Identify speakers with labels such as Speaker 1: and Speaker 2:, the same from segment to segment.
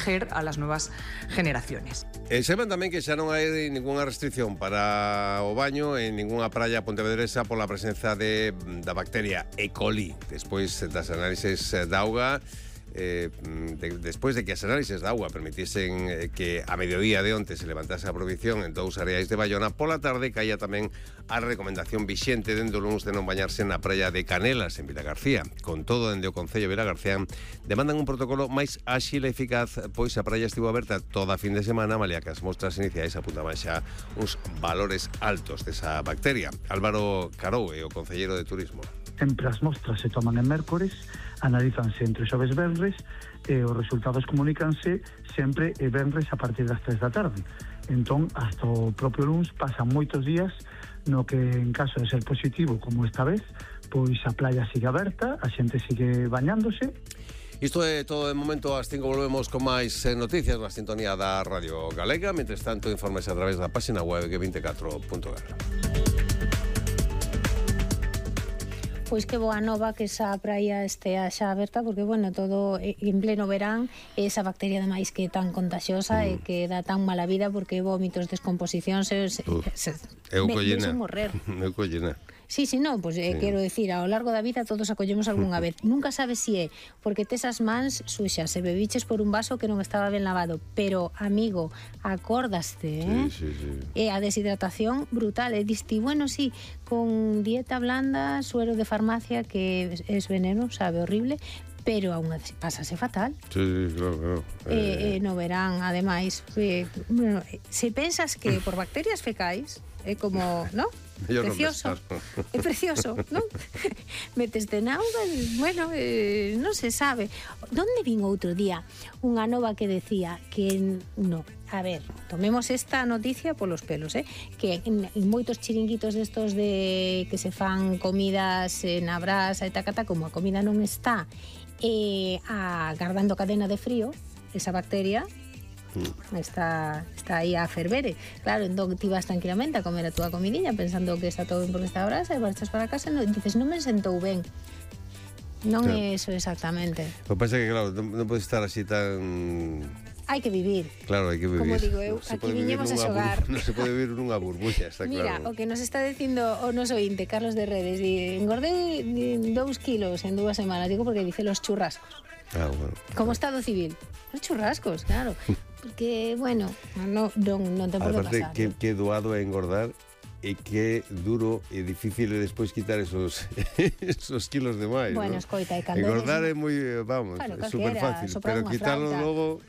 Speaker 1: proteger a las nuevas generaciones.
Speaker 2: Sepan tamén que xa non hai ninguna restricción para o baño en ninguna praia pontevedresa pola presenza da bacteria E. coli. Despois das análises da auga, despois de que as análises da auga permitisen que a mediodía de onte se levantase a prohibición en 2 areais de Bayona, pola tarde caía tamén a recomendación vixente dende o luns de non bañarse na praia de Canelas, en Vilagarcía. Con todo, dende o Concello de Vilagarcía demandan un protocolo máis áxil e eficaz, pois a praia estivo aberta toda a fin de semana, malia que as mostras iniciais apuntaban xa uns valores altos desa bacteria. Álvaro Carou é o concelleiro de Turismo.
Speaker 3: Sempre as mostras se toman en mércores, analízanse entre xoves e venres e os resultados comunícanse sempre e venres a partir das 3 da tarde. Entón, hasta o propio luns pasan moitos días no que, en caso de ser positivo, como esta vez, pois a playa sigue aberta, a xente sigue bañándose.
Speaker 2: Isto é todo de momento. Ás 5 volvemos con máis noticias na sintonía da Radio Galega. Mentres tanto, informes a través da página web g24.gal.
Speaker 4: Pois que boa nova que esa praia estea xa aberta, porque, bueno, todo en pleno verán, esa bacteria ademais que é tan contagiosa e que dá tan mala vida, porque vómitos, descomposicións,
Speaker 2: eu collena.
Speaker 4: Morrer.
Speaker 2: Eu collena.
Speaker 4: Sí, non, pois quero decir, ao largo da vida todos acollemos algunha vez. Nunca sabes si é porque tes as mans suxas e bebiches por un vaso que non estaba ben lavado, pero, amigo, acordaste,
Speaker 2: Sí.
Speaker 4: E a deshidratación brutal, e diste, bueno, sí, con dieta blanda, suero de farmacia, que es veneno, sabe, horrible, pero aún pásase fatal.
Speaker 2: Sí, claro.
Speaker 4: No verán, ademais, bueno, se pensas que por bacterias fecais é como, ¿no? Precioso. É precioso, ¿no? Meteste na auga, bueno, non se sabe. Donde vin outro día unha nova que decía que no, a ver, tomemos esta noticia polos pelos, que en moitos chiringuitos destos de que se fan comidas na brasa e tacata, como a comida non está agardando cadena de frío, esa bacteria está aí a fervere. Claro, entón ti vas tranquilamente a comer a túa comidinha pensando que está todo ben porque está a brasa e marchas para casa e dices, non me sentou ben. Non é eso exactamente.
Speaker 2: O que pasa é que, claro, non pode estar así tan...
Speaker 4: Hai que vivir.
Speaker 2: Claro, hai que vivir.
Speaker 4: Como digo eu, aquí viñemos a xogar.
Speaker 2: Non se pode vivir nunha burbulla, está
Speaker 4: Mira,
Speaker 2: claro.
Speaker 4: o que nos está dicindo o noso ointe, Carlos de Redes, engordei 2 kilos en 2 semanas, digo porque dice los churrascos.
Speaker 2: Bueno.
Speaker 4: Como Estado civil. Los churrascos, claro. Porque, bueno, non te pode pasar.
Speaker 2: Aparte, que doado é engordar e que duro e difícil é despois quitar esos kilos de máis.
Speaker 4: Bueno, escoita, e cando
Speaker 2: engordar é moi, vamos,
Speaker 4: bueno,
Speaker 2: é super fácil, pero quitarlo logo...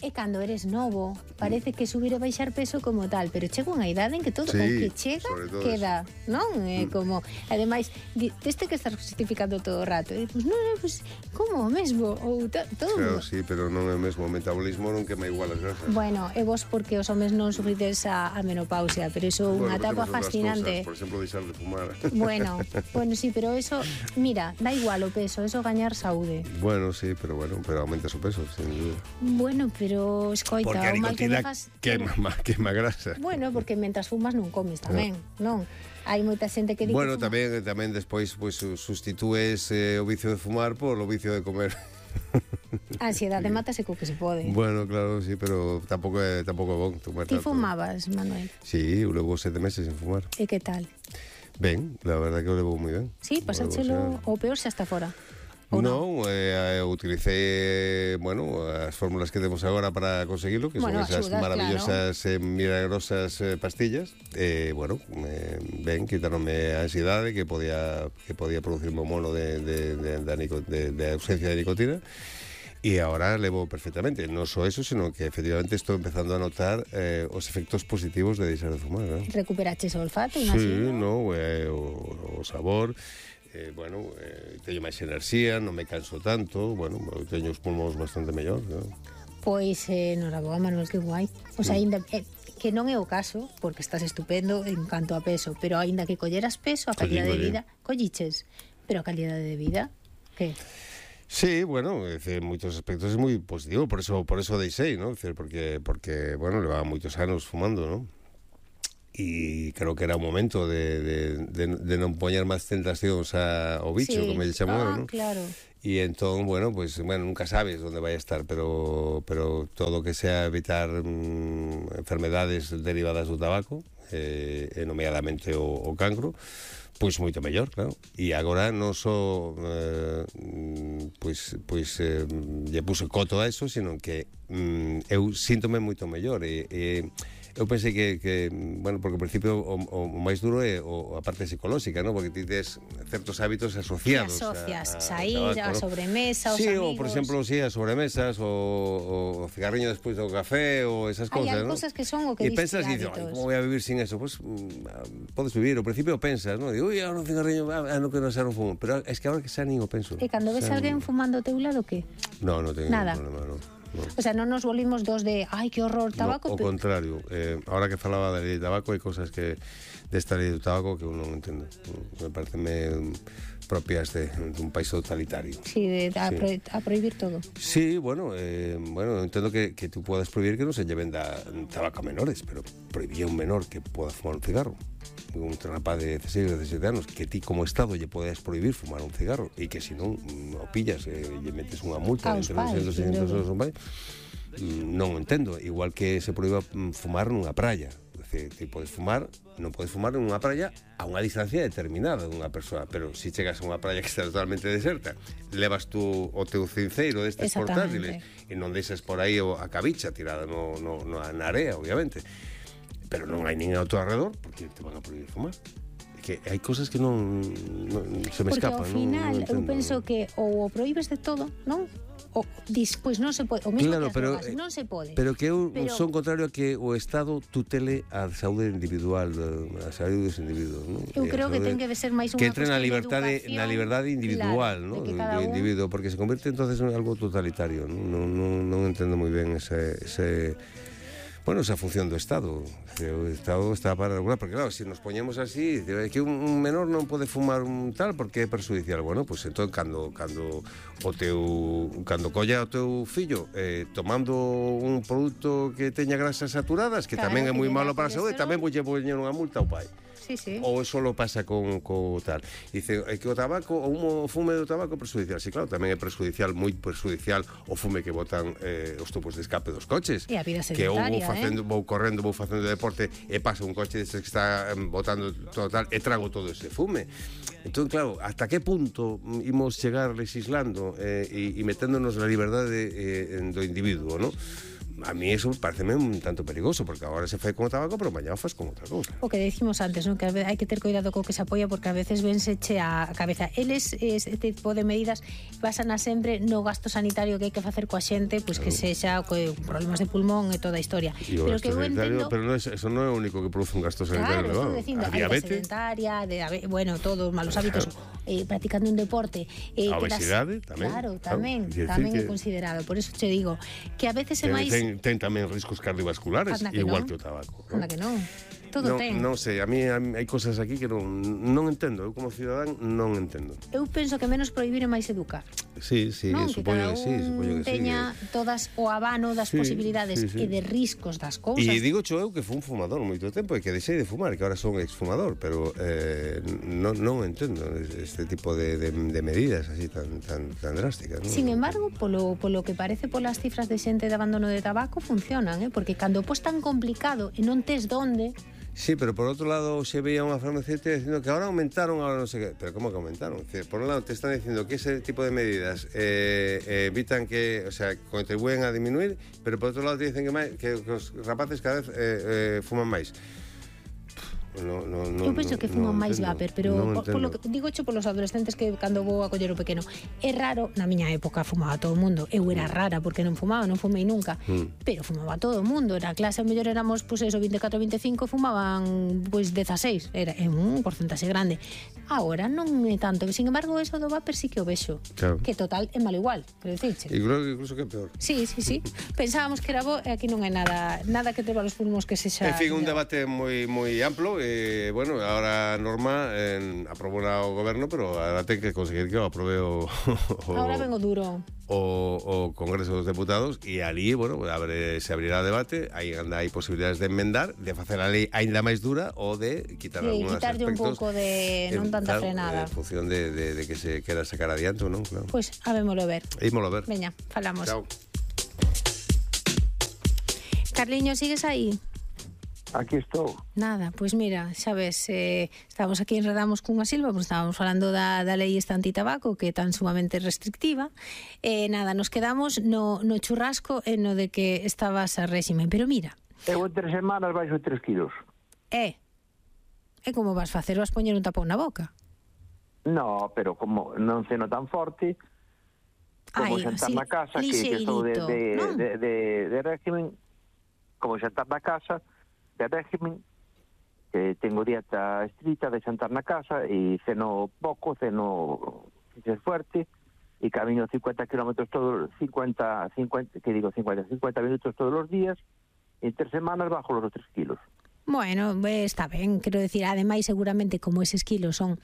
Speaker 4: E cando eres novo, parece que subir e baixar peso como tal, pero chega unha idade en que todo o que chega queda, non? Como, ademais, deste que estás justificando todo o rato, e pues non, pues, como o mesmo, ou todo.
Speaker 2: Claro, sí, pero non é o mesmo, o metabolismo non quema igual as grasas.
Speaker 4: Bueno, e vos porque os homes non sufrides a menopausia, pero iso é unha etapa fascinante.
Speaker 2: Por exemplo, deixar de fumar.
Speaker 4: Bueno, sí, pero eso, mira, da igual o peso, eso gañar saúde.
Speaker 2: Bueno, sí, pero aumentas o peso, sin duda.
Speaker 4: Bueno, pero escoita,
Speaker 2: porque a nicotina quema grasa.
Speaker 4: Bueno, porque mentras fumas non comes tamén, non? Hai moita xente que di
Speaker 2: bueno, que tamén despois pues, sustitúes o vicio de fumar por o vicio de comer.
Speaker 4: A ansiedade mátase co que se pode.
Speaker 2: Bueno, claro, sí, pero tampouco é bon tomar
Speaker 4: Ti
Speaker 2: tanto.
Speaker 4: fumabas, Manuel?
Speaker 2: Sí, eu levo 7 meses sin fumar.
Speaker 4: E que tal?
Speaker 2: Ben, la verdad que o levo moi ben.
Speaker 4: Sí, pasáchelo o peor xa está fora.
Speaker 2: Non, utilicé, as fórmulas que temos agora para conseguirlo, que son esas maravillosas, milagrosas pastillas. Ben, quitaronme a ansiedade que podía producirme un mono de ausencia de nicotina. E agora levo perfectamente, non só eso, sino que efectivamente estou empezando a notar os efectos positivos de deixar de fumar, ¿no?
Speaker 4: Recuperaches o olfato, imagino?
Speaker 2: Sí, o sabor. Teño máis enerxía, non me canso tanto, teño os pulmóns bastante mellor, ¿no?
Speaker 4: Pois, noraboa, Manuel, que guai. O sea, ainda, que non é o caso, porque estás estupendo en canto a peso, pero ainda que colleras peso, a calidade de vida, colliches, pero a calidade de vida, que?
Speaker 2: Sí, en moitos aspectos é moi positivo, por eso deixei, ¿no? Porque levaba moitos anos fumando, ¿no? e creo que era o momento de non poñer máis tentacións ao bicho, como ele chamou, non?
Speaker 4: Claro.
Speaker 2: E entón, bueno, pues, nunca sabes onde vai a estar, pero todo que sea evitar enfermedades derivadas do tabaco, nomeadamente o cancro, pois moito mellor, claro. E agora non só lle puse coto a eso, sino que eu síntome moito mellor e eu pensei que bueno, porque ao principio o máis duro é a parte psicolóxica, ¿no? Porque ti tes certos hábitos asociados.
Speaker 4: Asocias, sair, a sobremesa, os amigos.
Speaker 2: Sí, ou por exemplo, as sobremesas, o cigarriño despois do café, ou esas
Speaker 4: Hai
Speaker 2: cousas, ¿no?
Speaker 4: cosas que son o que
Speaker 2: e pensas e dices, como voy a vivir sin eso? Pues podes vivir, ao principio pensas, ¿no? Digo, agora un cigarriño, non quero ser un fumo, pero es que agora que xa nin o penso.
Speaker 4: E cando ves alguén fumando ao teu lado, que?
Speaker 2: Non teño
Speaker 4: nada.
Speaker 2: Ningún problema, non.
Speaker 4: O sea, non nos volvimos dos de ai, que horror, tabaco.
Speaker 2: No, ao contrario, ahora que falaba da lei de tabaco, hai cosas que desta lei do tabaco que eu non entendo. Me pareceme propias dun país totalitario.
Speaker 4: Sí, a prohibir todo.
Speaker 2: Sí, bueno, entendo que tú podes prohibir que non se lle venda tabaco a menores, pero prohibir a un menor que poda fumar un cigarro. Un rapaz de 16 ou 17 anos, que ti como Estado lle podes prohibir fumar un cigarro e que se non o pillas e lle metes unha multa entre 200 e 600 euros, non o entendo. Igual que se proíba fumar nunha praia. Ti podes fumar, non podes fumar nunha praia a unha distancia determinada dunha persoa, pero se chegas a unha praia que está totalmente deserta, levas tú o teu cinceiro destes portátiles e non deixas por aí a cabicha tirada na area, obviamente, pero non hai nin ao teu alrededor porque te van a prohibir fumar. Que hai cosas que non se me escapan.
Speaker 4: Porque ao final eu penso que ou o prohíbes de todo, non? O despois non se pode, o mesmo
Speaker 2: claro,
Speaker 4: que as drogas, non se pode.
Speaker 2: Pero que eu son contrario a que o Estado tutele a saúde individual, a saúde dos individuos, non?
Speaker 4: Eu creo que ten que ser máis unha
Speaker 2: que entre na liberdade individual,
Speaker 4: claro,
Speaker 2: ¿no? do individuo, porque se convierte entonces en algo totalitario, non entendo moi ben esa función do Estado. O Estado está para regular, porque claro, se nos poñemos así, que un menor non pode fumar un tal porque é perjudicial. Bueno, pues entón cando colla o teu fillo tomando un produto que teña grasas saturadas, que tamén é moi malo para a saúde, tamén voulle poñer unha multa ao pai.
Speaker 4: Sí.
Speaker 2: Ou eso lo pasa co tal. Dice que o tabaco, o fume do tabaco é perjudicial. Sí, claro, tamén é perjudicial, moi perjudicial o fume que botan os tubos de escape dos coches.
Speaker 4: E a vida
Speaker 2: sedentaria,
Speaker 4: que
Speaker 2: vou correndo, vou facendo deporte e pasa un coche destes que está botando todo tal e trago todo ese fume. Entón, claro, hasta que punto imos chegar legislando e meténdonos na liberdade do individuo, non? A mí eso pareceme un tanto perigoso, porque agora se fai con o tabaco, pero mañá o faz con outra cousa.
Speaker 4: O que decimos antes, ¿no? Que hai que ter cuidado co que se apoia, porque a veces vense che a cabeza. Eles, este tipo de medidas basan a sempre no gasto sanitario que hai que facer coa xente, pois que sexa con problemas de pulmón e toda a historia.
Speaker 2: E o gasto sanitario, pero eso non é o único que produce un gasto sanitario,
Speaker 4: claro, dicindo,
Speaker 2: a diabetes,
Speaker 4: sedentaria, bueno, todos malos hábitos, practicando un deporte,
Speaker 2: a obesidade tamén.
Speaker 4: Claro, tamén é considerado. Por eso te digo que a veces é máis
Speaker 2: ten tamén riscos cardiovasculares, igual que o tabaco.
Speaker 4: Anda que non. Todo ten.
Speaker 2: Non sei, a mí hai cosas aquí que non entendo. Eu como cidadán non entendo.
Speaker 4: Eu penso que menos prohibir é máis educar.
Speaker 2: Sí, supoño que sí.
Speaker 4: Teña todas o abano das posibilidades e de riscos das cousas.
Speaker 2: E digo eu que fui un fumador moito tempo e que deixei de fumar, que agora son exfumador, pero non entendo este tipo de medidas así tan drásticas, ¿no?
Speaker 4: Sin embargo, polo que parece polas cifras de xente de abandono de tabaco funcionan, porque cando pos tan complicado e non tes donde.
Speaker 2: Sí, pero por outro lado se veía unha farmacéutica dicindo que ahora aumentaron, ahora non sei que. Pero como que aumentaron? Por un lado te están dicindo que ese tipo de medidas evitan que, o sea, contribúen a disminuir, pero por outro lado te dicen que os rapaces cada vez fuman máis.
Speaker 4: Eu penso que fuman máis vapor, pero polo que digo polos adolescentes que cando vou a coller o pequeno, é raro, na miña época fumaba todo o mundo, eu era rara porque non fumaba, non fumei nunca, pero fumaba todo o mundo, na clase a mellor éramos, pois eso, 24 25, fumaban pois 16, era un porcentaxe grande. Agora non é tanto, sin embargo, eso do vapor sí que o vexo,
Speaker 2: claro.
Speaker 4: Que total é malo igual, quero dicirche.
Speaker 2: E creo que incluso que é peor.
Speaker 4: Sí. Pensábamos que era bo e aquí non hai nada que te va los pulmos que sexa.
Speaker 2: En fin, un debate moi amplo bueno, ahora Norma aprobou o goberno, pero ahora ten que conseguir que o aprobe
Speaker 4: ahora vengo duro.
Speaker 2: O Congreso dos Deputados, e ali, bueno, se abrirá debate, aí hai posibilidades de enmendar, de facer a lei aínda máis dura ou de quitar algúns aspectos.
Speaker 4: Quitarlle un pouco de non tanta frenada.
Speaker 2: En función de que se quera sacar adiante ou non, claro.
Speaker 4: Pois, habémolo ver.
Speaker 2: Ímolo ver.
Speaker 4: Veña, falamos.
Speaker 2: Chao.
Speaker 4: Carliño, sigues aí?
Speaker 5: Aquí estou.
Speaker 4: Nada, pois mira, xa ves, estamos aquí enredamos cunha silva, pois estábamos falando da lei esta antitabaco, que é tan sumamente restrictiva, nada, nos quedamos no churrasco e no de que estabas a réxime, pero mira.
Speaker 5: Eu en 3 semanas baixo 3 kilos.
Speaker 4: E como vas facer? Vas poñer un tapón na boca?
Speaker 5: No, pero como non ceno tan forte, como xantar na casa, que estou de régimen, como xantar na casa, de régimen, que tengo dieta estrita de xantar na casa e ceno pouco, ceno fuerte e camino 50 kilómetros todos 50 minutos todos os días e en 3 semanas bajo los 3 kilos.
Speaker 4: Bueno, está ben, quero decir, ademais seguramente como eses kilos son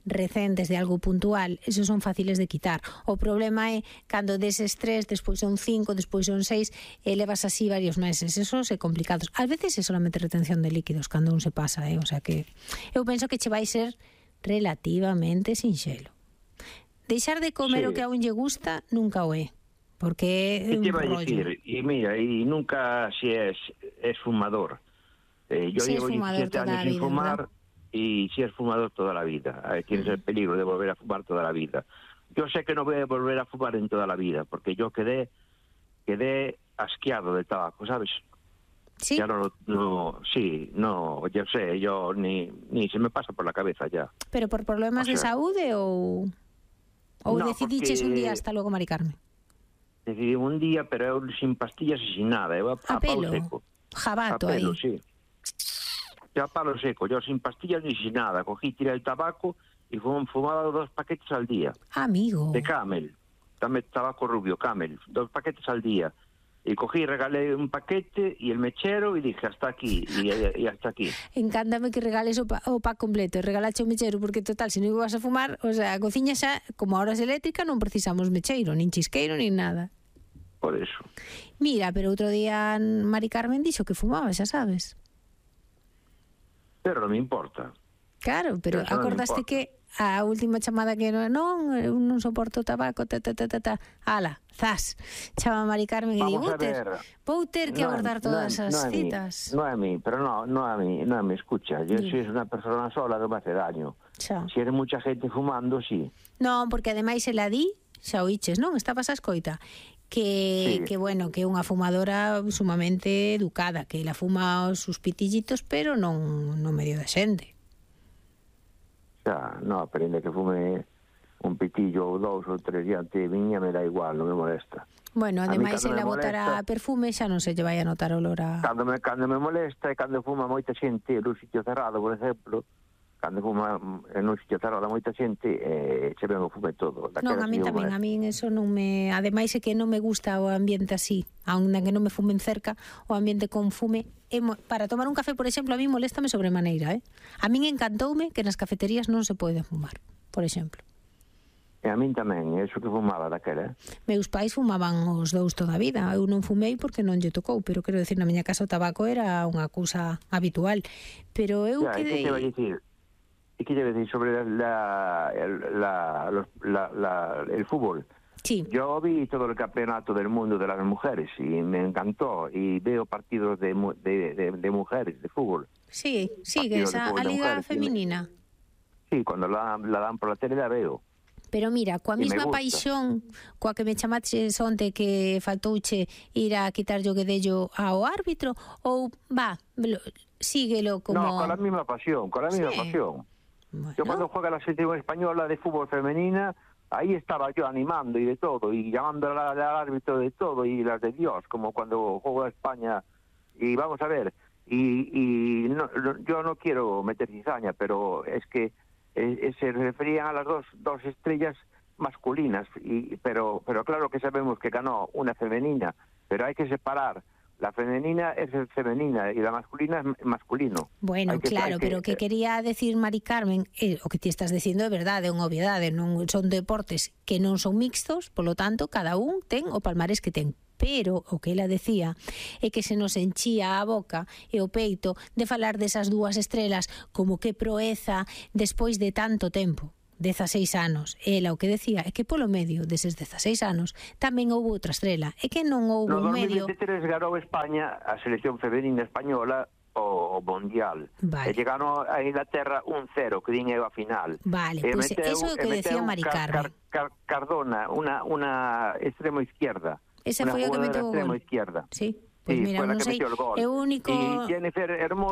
Speaker 4: recentes de algo puntual, esos son fáciles de quitar. O problema é cando deses 3, despois son 5, despois son 6, e levas así varios meses, esos é complicados. Ás veces é solamente retención de líquidos cando un se pasa, o sea que eu penso que che vai ser relativamente sinxelo. Deixar de comer o que a un lle gusta nunca o é, porque é un rollo.
Speaker 5: E mira, e nunca si es fumador. Yo llevo 17 años sin fumar y si es fumador toda la vida. Tienes el peligro de volver a fumar toda la vida. Yo sé que no voy a volver a fumar en toda la vida, porque yo quedé asqueado del tabaco, ¿sabes?
Speaker 4: Sí.
Speaker 5: Ya yo sé, yo ni se me pasa por la cabeza ya.
Speaker 4: Pero por problemas de saúde ou
Speaker 5: no,
Speaker 4: decidiches un día hasta luego, Mari Carmen?
Speaker 5: Decidí un día, pero sin pastillas y sin nada, a palo seco.
Speaker 4: Jabato
Speaker 5: a pelo,
Speaker 4: aí.
Speaker 5: Sí. Ya palo seco, yo sin pastillas ni sin nada. Cogí, tiré el tabaco y fumaba 2 paquetes al día.
Speaker 4: Amigo.
Speaker 5: De Camel, también tabaco rubio, Camel, 2 paquetes al día. Y cogí, regalé un paquete y el mechero y dije hasta aquí, y hasta aquí.
Speaker 4: Encántame que regales o pack completo, regalache o mechero, porque total, se non ibas a fumar, o sea, a cociña xa, como ahora é eléctrica, non precisamos mecheiro, nin chisqueiro, nin nada.
Speaker 5: Por eso.
Speaker 4: Mira, pero outro día Mari Carmen dixo que fumaba, xa sabes.
Speaker 5: Pero non me importa.
Speaker 4: Claro, pero acordaste que a última chamada que non soporto o tabaco, ala, zas, chama Mari Carmen e digo, vou ter que abordar todas as citas.
Speaker 5: No a mí, pero no a mí, escucha, yo si es una persona sola non me hace daño.
Speaker 4: Xa.
Speaker 5: Si eres mucha gente fumando, sí.
Speaker 4: Non, porque ademais ela di, xa oíches, non? Estabas a escoita. Que bueno, que é unha fumadora sumamente educada, que ela fuma os sus pitillitos, pero non no medio da xente.
Speaker 5: Xa, non, aprende que fume un pitillo ou 2 ou 3 diante de miña, me dá igual, non me molesta.
Speaker 4: Bueno, ademais ela botará perfume, xa non se lle vai a notar olor a... Cando
Speaker 5: me molesta é cando fuma moita xente nun sitio cerrado, por exemplo, cando fuma en un sitio cerrado moita xente, se ven o fume todo.
Speaker 4: Non, a mí tamén, a mí eso non me... Ademais é que non me gusta o ambiente así, aunque non me fumen cerca, o ambiente con fume. Para tomar un café, por exemplo, a mí moléstame sobremaneira, A min encantoume que nas cafeterías non se pode fumar, por exemplo.
Speaker 5: E a min tamén, eso que fumaba daquela,
Speaker 4: Meus pais fumaban os dous toda a vida. Eu non fumei porque non lle tocou, pero quero decir, na miña casa o tabaco era unha cousa habitual. Pero eu quedei...
Speaker 5: Que te vai dicir? ¿Y qué debe decir sobre el fútbol?
Speaker 4: Sí.
Speaker 5: Yo vi todo el campeonato del mundo de las mujeres y me encantó. Y veo partidos de mujeres, de fútbol.
Speaker 4: Sí, que esa a liga femenina.
Speaker 5: Sí, cuando la dan por la tele la veo.
Speaker 4: Pero mira, coa mesma paixón coa que me chamaches onte que faltouche ir a quitar o guedello ao árbitro, ou síguelo como...
Speaker 5: No, con la misma pasión, Bueno. Yo cuando juega la selección española de fútbol femenina, ahí estaba yo animando y de todo, y llamando al árbitro de todo, y las de Dios, como cuando juego a España. Y vamos a ver, yo no quiero meter cizaña, pero es que se referían a las dos estrellas masculinas, pero claro que sabemos que ganó una femenina, pero hay que separar La femenina es femenina y la masculina es masculino.
Speaker 4: Bueno, claro, pero que quería decir Mari Carmen, o que ti estás dicindo é verdade, é unha obviedade, non son deportes que non son mixtos, polo tanto, cada un ten o palmarés que ten. Pero o que ela decía é que se nos enchía a boca e o peito de falar desas dúas estrelas como que proeza despois de tanto tempo. 16 anos. Ela o que decía é que polo medio deses 16 anos tamén houve outra estrela. É que non houve un medio...
Speaker 5: No 2023 ganou España a selección femenina española o Mundial.
Speaker 4: Vale.
Speaker 5: E chegaron a Inglaterra 1-0, que din a final.
Speaker 4: Vale, pois eso é o que decía Mari Carmen.
Speaker 5: Cardona, unha extremo izquierda.
Speaker 4: Esa foi o que meteu o gol.
Speaker 5: Extremo izquierda.
Speaker 4: Sí. Pois mira, non sei, é o único...
Speaker 5: E Jennifer Hermoso